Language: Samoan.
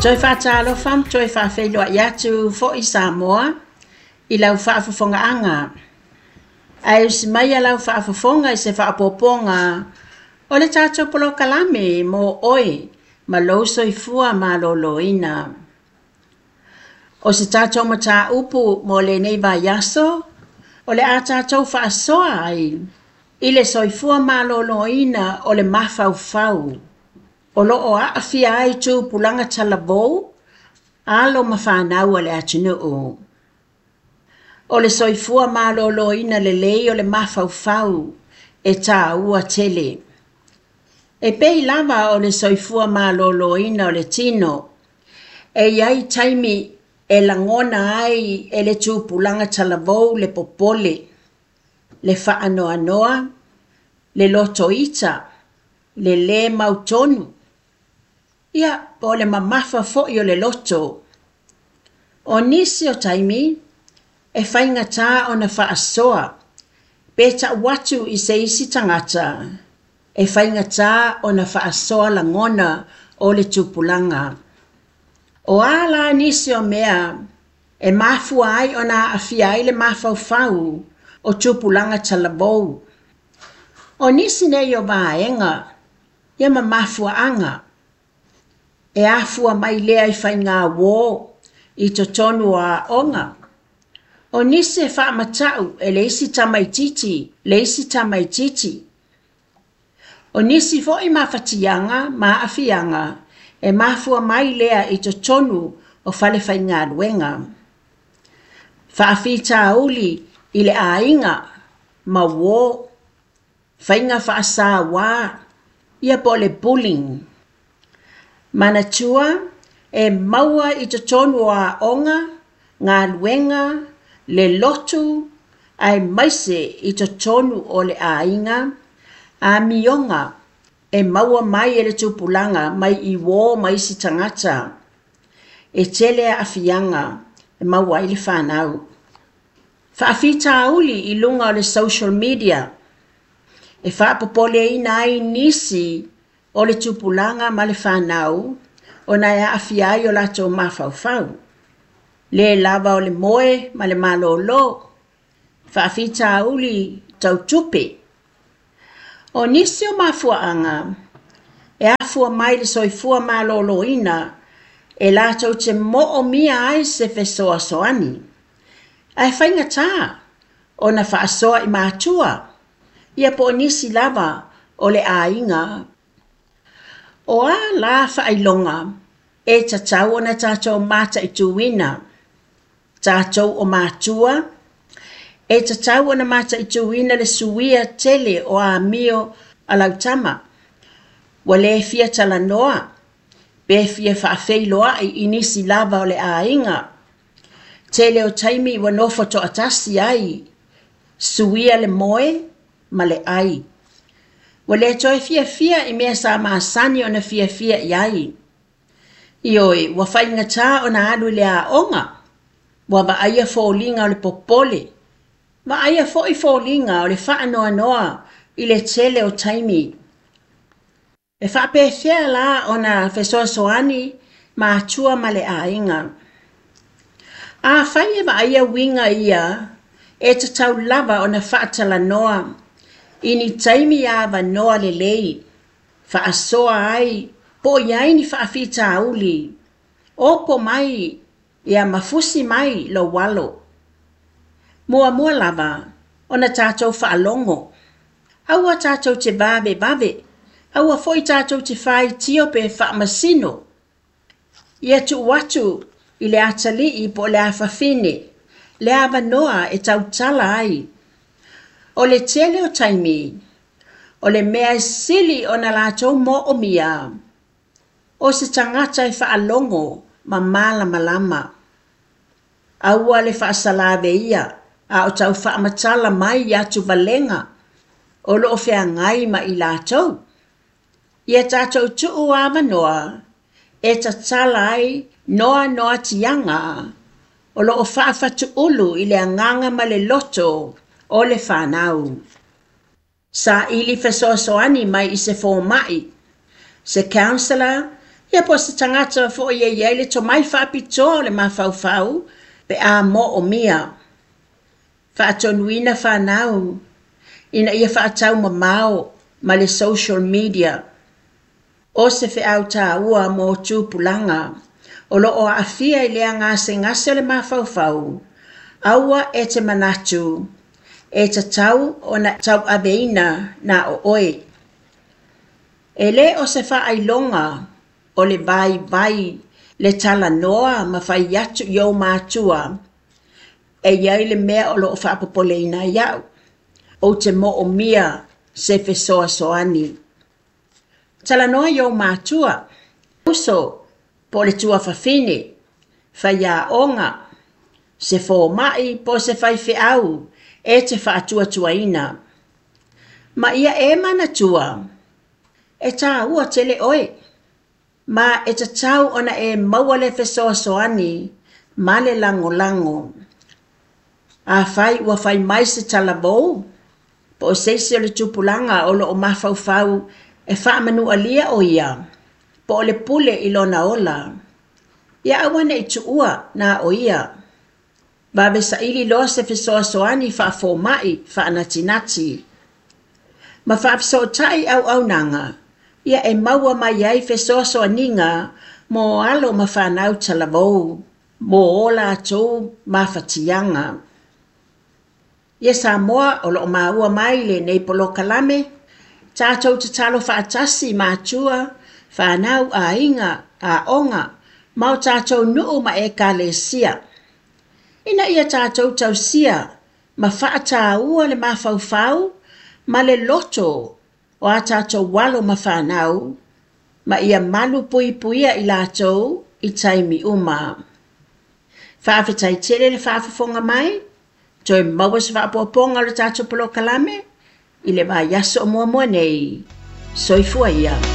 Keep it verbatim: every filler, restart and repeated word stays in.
Toe faatalofa ma toe faafeiloai atu foi Samoa i lau faafofogaaga. Ae usi mai lau faafofoga i se faaopoopoga o le tatou polokalame mo oe ma lou soifua maloloina. O se tatou mataupu mo lenei vaiaso, o le a tatou faasoa ai i le soifua maloloina o le mafaufau o lo o aafia ai tupulaga talavou, alo ma fanau a le atunuu. O le soifua maloloina lelei o le mafaufau e tāua tele. E pei lava o le soifua maloloina o le tino, e i ai taimi e lagona ai e le tupulaga talavou le popole, le faanoanoa, le lotoita, le lē mautonu, ia po o le mamafa foi o le loto. O nisi o taimi, e faigata ona faasoa pe ta'u atu i se isi tagata, e faigata ona faasoa lagona o le tupulaga. O a la nisi o mea e mafua ai ona aafia ai le mafaufau o tupulaga talavou. O nisi nei o vaega ia ma mafuaaga e afua mai lea i faiga uō i totonu o aoga. O nisi e faamata'u e le isi tamaitiiti le isi tamaitiiti. O nisi foi mafatiaga ma aafiaga e mafua mai lea i totonu o fale faigaluega. Faafitauli i le aiga ma uō, faiga faasauā, ia po o le bullying. Manatua e maua i totonu o aoga, galuega, le lotu, aemaise i totonu o le aiga, amioga e maua mai e le tupulaga mai i uō ma isi tagata. E tele aafiaga e maua ai le fanau. Faafitauli i luga o le social media e faapopoleina ai nisi o le tupulaga ma le fanau ona e aafia ai o latou mafaufau. Le lava o le moe ma le malolo, faafitauli tau tupe. O nisi o mafuaaga e afua mai le soifua maloloina e latou te moomia ai se fesoasoani. Ae faigata ona faasoa i matua, ia po o nisi lava o le aiga. O a la faailoga e tatau ona tatou mataituina, tatou o matua, e tatau ona mataituina le suia tele o amio a lau tama. Ua le fia talanoa, pe fia faafeiloai i nisi lava o le aiga. Tele o taimi ua nofo toatasi ai, suia le moe ma le ai. Ua le toe fiafia i mea sa masani ona fiafia i ai. Ioe, ua faigata ona alu i le aoga, ua vaaia foliga o le popole, vaaia foi foliga o le faanoanoa i le tele o taimi. E faapefea la ona fesoasoani matua ma le aiga. Afai e vaaia uiga ia, e tatau lava ona faatalanoa i ni taimi avanoa lelei, faasoa ai po o i ai ni faafitauli, opo mai ia ma fusi mai lou alo. Muamua lava ona tatou faalogo. Aua tatou te vavevave, aua foi tatou te faitio pe faamasino. Ia tuu atu i le atalii po o le afafine, le avanoa e tautala ai. O le tele o taimi, o le mea e sili ona latou moomia, o se tagata e faalogo ma malamalama. Aua le faasalaveia a o tau faamatala mai atuvalega o lo o feagai ma i latou. Ia tatou tuu avanoa e tatala ai noanoatiaga o lo o faafatuulu i le agaga ma le loto o le fanau. Saili fesoasoani mai i se fomai, se counsellor, Ia po o se tagata foi e i ai le tomai faapitoa o le mafaufau pe a moomia. Faatonuina fanau ina ia faataumamao ma le social media. O se feau tāua mo tupulaga o lo o aafia i lea gasegase o le mafaufau, aua e te manatu e tatau ona tauaveina na o oe. E le o se faailoga o le vaivai le talanoa ma fai atu i ou matua e i ai le mea o lo o faapopoleina ai au. Ou te moomia se fesoasoani. Talanoa i ou matua, uso po o le tuafafine, faiaoga, se fomai po o se faifeau e te faatuatuaina. Ma ia e manatua, e tāua tele oe, ma e tatau ona e maua le fesoasoani ma le lagolago. Afai ua fai mai se talavou, po o se isi o le tupulaga o lo o mafaufau e faamanualia o ia, po o le pule i lona ola, ia aua ne i tuua na o ia. Vave saili loa se fesoasoani faafomai faanatinati. Ma faafesootai auaunaga, ia e maua mai ai fesoasoaniga mo alo ma fanau talavou, mo o latou mafatiaga. Ia Samoa o lo o maua mai lenei polokalame, tatou tatalo faatasi matua, fanau, aiga, aoga, ma o tatou nuu ma ekalesia. Ina ia tatou tausia ma faataua le mafaufau ma le loto o a tatou alo ma fanau, ma ia malu puipuia i latou i taimi uma. Faafetai tele le faafofoga mai, toe maua se faaopoopoga o le tatou polokalame i le vaiaso o muamua nei. Soifua ia.